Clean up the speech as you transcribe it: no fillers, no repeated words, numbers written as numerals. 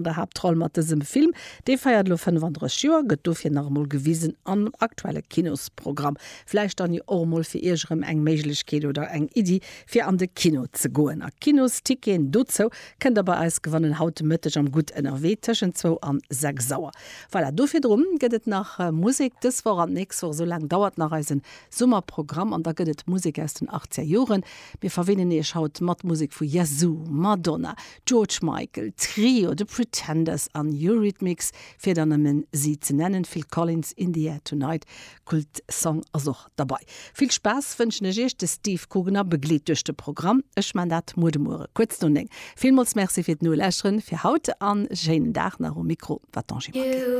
Der Haaptroll mat dësem Film, dee feiert elo 35 Joer, gëtt dofir nach emol gewisen am aktuelle Kinosprogramm. Vläicht dann jo och emol fir Iech erëm eng Méiglechkeet oder eng Iddi fir an de Kino ze goen. A Kinosticketen dozou kënnt der bei eis gewannen haut de Mëtteg am Gutt ënnerwee tëschent zwou an 6 Auer. Voilà, do virdrun gëtt et nach Musek dës Woch an d'nächst Woch. Esou laang dauert nach eisen Summerprogramm an da gëtt et Musek aus den 80er Joren. Mir verwinnen Iech haut mat Musek vu Yazoo, Madonna, George Michael, Trio, The Pretenders an Eurythmics, fir der nëmmen si ze nennen. Phil Collins, In the Air Tonight, Kult-Song ass och derbei. Vill Spaass wënschen ech Iech. De Steve Kugener begleet duerch de Programm. Ech man dat muer de Muere kuerz no 9. Villmools Merci fir d'Nolauschteren fir haut an schéinen Dag nach. Um Mikro war d'Angie Maquet.